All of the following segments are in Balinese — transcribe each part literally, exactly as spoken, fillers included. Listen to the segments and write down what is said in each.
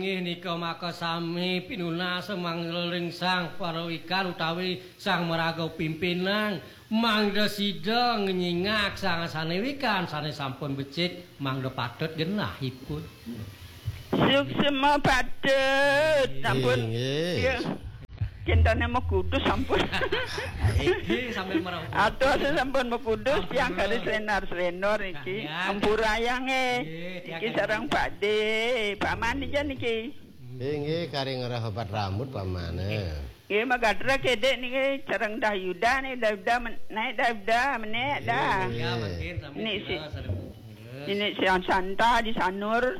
Inggih nika maka sami pinunas mangleling Sang Parawikan utawi Sang Maraga Pimpinan, mangda sida ngnyingak sangasane wikan sane sampun becik, mangda patut genahipun. Suksma patut. Sampun. Inggih. Iya. Cintane Mekudus sampun. Iki sambil meraup. Atos sampun Mekudus, tiang garis lenar-lenor iki. Ampurayang, eh. Nggih, tiang iki sareng Pak De. Pak Mani jan iki. Inggih, kari ngerah obat rambut, Pak Mane. Nggih, magadra kedek niki sareng Dah Yuda nih, Dah Yuda men-, naik Dah Yuda, menek dah. Iya, mungkin sambil ini si, ini si Santa di Sanur.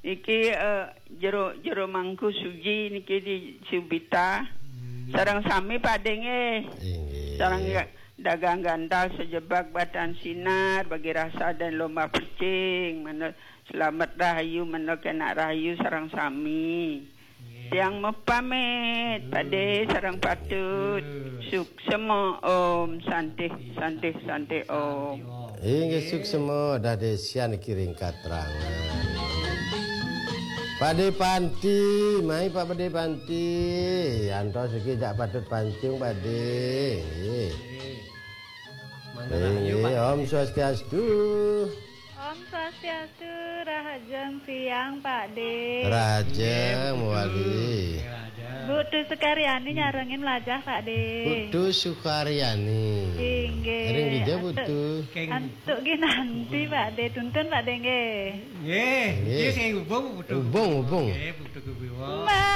Iki, eh, jero, jero Mangku Suji niki di Subita. Sareng sami Pak De nggih. Inggih. Sareng ya, dagang gantal sejebak batan sinar bagi rasa dan lomba percing. Mana selamat rahayu, mana kena rahayu sareng sami. Tiang mepamit, Pak De sareng patut. Suksema Om, santih, santih, santih Om. Inggih suksma, dah desian kiring katrangan. Pak De Panti, mai Pak De Panti. Antos iki jak patut pancung, Pak De. Nggih. Mangga rahayu, Pak. Inggih, Om Swastiastu. Om Swastiastu, rahajeng siang, Pak De. Rahajeng, Inggih, Bu Putu. Mawali. Inggih, rahajeng. Bu Tu Sukaryani nyarengin lajah, Pak De. Bu Tu Sukaryani. Inggih. Ring dija, Bu Tu? Antuk, antuk ginanti, Pak De. Tuntun, Pak De, nggih. Nggih, nggih, nggih. Sing hubung, Bu Tu. Hubung, hubung. Nggih, Bu Tu Kubiwa. Ma-